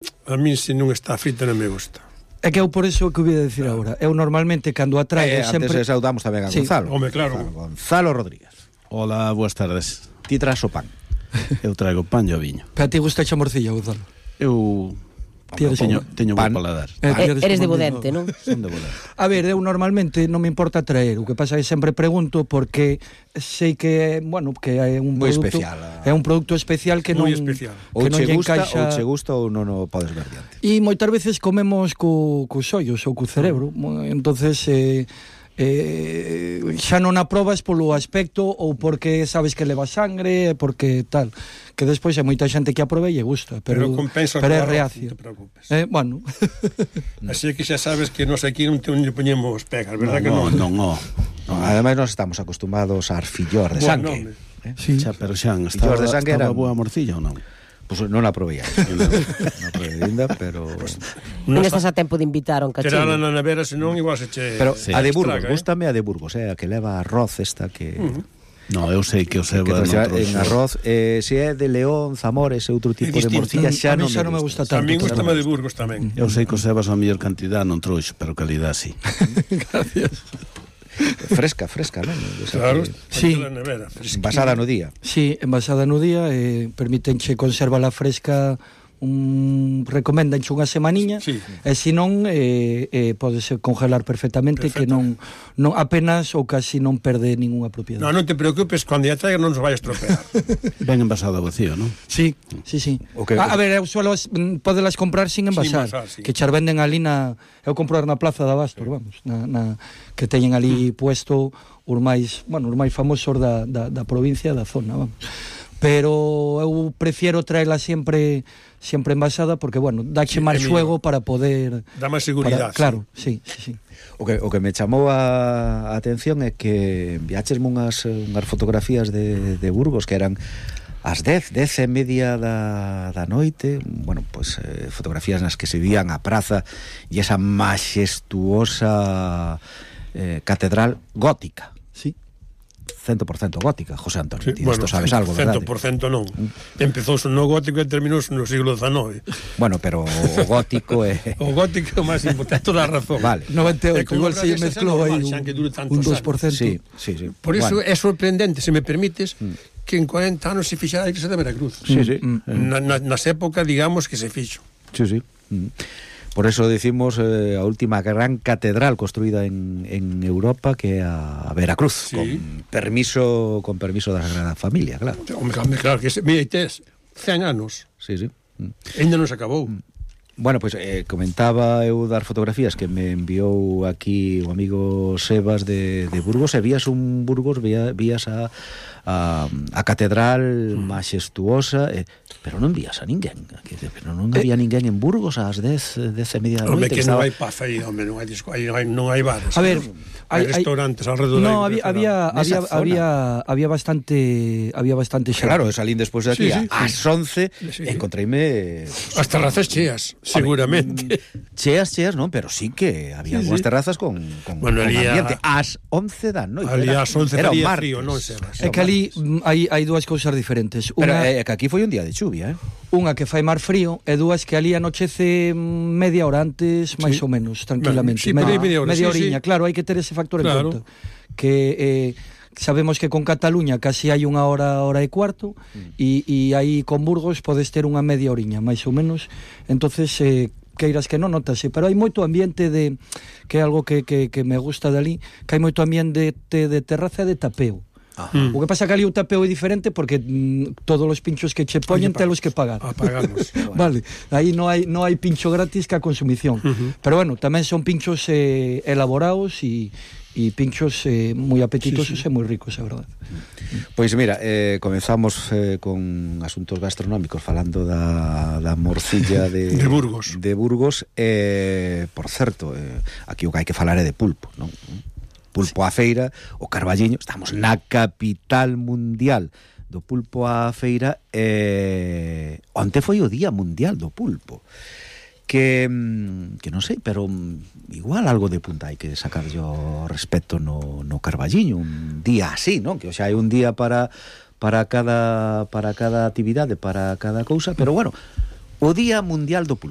A mí, se non está frita, non me gusta. É que eu por eso que o voy a decir agora. Eu normalmente, cando a traigo, sempre... Antes saudamos tamén a Gonzalo. Home, claro. Gonzalo Rodríguez. Hola, boas tardes. Ti tras o pan. Eu traigo pan e o viño. Pero a ti gusta a morcilla, Gonzalo? Eu teño pan. bo paladar. Eres de Bodente, non? Son de Bodente. A ver, eu normalmente non me importa traer. O que pasa é que sempre pregunto porque sei que, bueno, que é un moi produto especial. É un produto especial que non especial. Ou que non che lle gusta, encaixa... ou che gusta ou non o podes ver diante. E moitas veces comemos cos ollos ou co cerebro. Entonces xa non aprobas polo aspecto ou porque sabes que leva sangre, porque tal, que despois hai moita xente que aprobe e lle gusta, pero compensa é arroz, reacio. non te preocupes. Bueno. Así que xa sabes que nos aquí non lle poñemos pegas, verdad que non? Non. Ademais, nós estamos acostumados a arfillor de sangue. Sí. Xa, pero Xan, estaba boa morcilla ou non? Pois non a provei ainda. Non a provei ainda, pero... Non estás a tempo de invitar a un cachillo. Terala na nevera, senón igual se che... Pero sí, a de Burgos, estraga, gústame a de Burgos, a que leva arroz esta que... No, eu sei que o seba en arroz, se é de León, Zamores e outro tipo de morcilla, xa non me gusta tanto. A mí gustame de Burgos tamén. Eu sei que o sebas a mellor cantidad non trouxo, pero calidad sí. Gracias. Fresca, non? Claro, sí. Envasada no día. Sí, envasada no día, permítenche conservala fresca, recomendanche unha semaniña, sí. E se non podese congelar perfectamente, que non apenas ou casi non perde ningunha propiedade. Non te preocupes, cando a traiga non se vai a estropear. Ben envasado vacío, non? Sí. Okay. A ver, eu suelo podelas comprar sin envasar, sí. Que char venden ali eu comprar na Plaza de Abastos, vamos, que teñen ali puesto os máis famosos da provincia, da zona, vamos. Pero eu prefiero traela sempre envasada porque, bueno, dache máis xuego para poder... Dá máis seguridade. Claro, sí. O que me chamou a atención é que enviáchesme unhas fotografías de Burgos que eran ás 10:30 da noite, bueno, pues fotografías nas que se vían a praza e esa maxestuosa catedral gótica. Sí. 100% gótica, José Antonio. Sí, bueno, isto sabes algo, verdade? 100% non. Empezouse no gótico e terminouse no siglo XIX. Bueno, pero o gótico é... O gótico é o máis importante, toda a razón. Vale. 98, igual se mezclou aí un 2%. Sí. Por iso é sorprendente, se me permites, que en 40 anos se fixara a igrexa de Veracruz. Sí. Nas épocas, digamos, que se fixo. Sí. Por eso decimos a última gran catedral construída en Europa, que é a Veracruz, sí. con permiso da Sagrada Familia, claro. Hombre, claro que mira, tes 100 anos. Sí. Ainda non se acabou. Bueno, pois comentaba eu dar fotografías que me enviou aquí o amigo Sebas de Burgos, e vías un Burgos, vías a catedral maxestuosa, pero non vías a ninguén, pero non había ninguén en Burgos ás 10:30 da noite. Que non hai paz aí, home, non hai bares. A ver, hai restaurantes alrededor. No, había bastante xente. Claro, salín despois de aquí ás 11, encontreime as terrazas cheas, seguramente. Cheas, non, pero sí que había algunhas terrazas con ambiente ás 11 da noite. Ali ás 11 faría frío, non Sebas. É que ali hai dúas cousas diferentes. Pero é que aquí foi un día de chuvia, Unha que fai mar frío e dúas que ali anochece media hora antes, máis ou menos, tranquilamente. Sí, media oriña, claro, hai que ter ese factor en conta. Que sabemos que con Cataluña casi hai unha hora e cuarto, e aí con Burgos podes ter unha media oriña, máis ou menos. Entonces, queiras que non notase, pero hai moito ambiente que é algo que me gusta dali, que hai moito ambiente de terraza e de tapeo. O que pasa que ali o tapeo é diferente porque todos os pinchos que che poñen telos que pagar. Pagamos. Vale, aí non hai pincho gratis que a consumición. Pero bueno, tamén son pinchos elaborados e pinchos moi apetitosos e moi ricos, é verdade. Pois mira, comenzamos con asuntos gastronómicos falando da morcilla de Burgos. Por certo, aquí o que hai que falar é de pulpo, non? Pulpo á feira, o Carballiño, estamos na capital mundial do pulpo á feira, onte foi o Día Mundial do Pulpo, que non sei, pero igual algo de punta hai que sacar yo respecto no Carballiño, un día así, non? Que o xa hai un día para cada actividade, para cada cousa, pero bueno, o Día Mundial do Pulpo.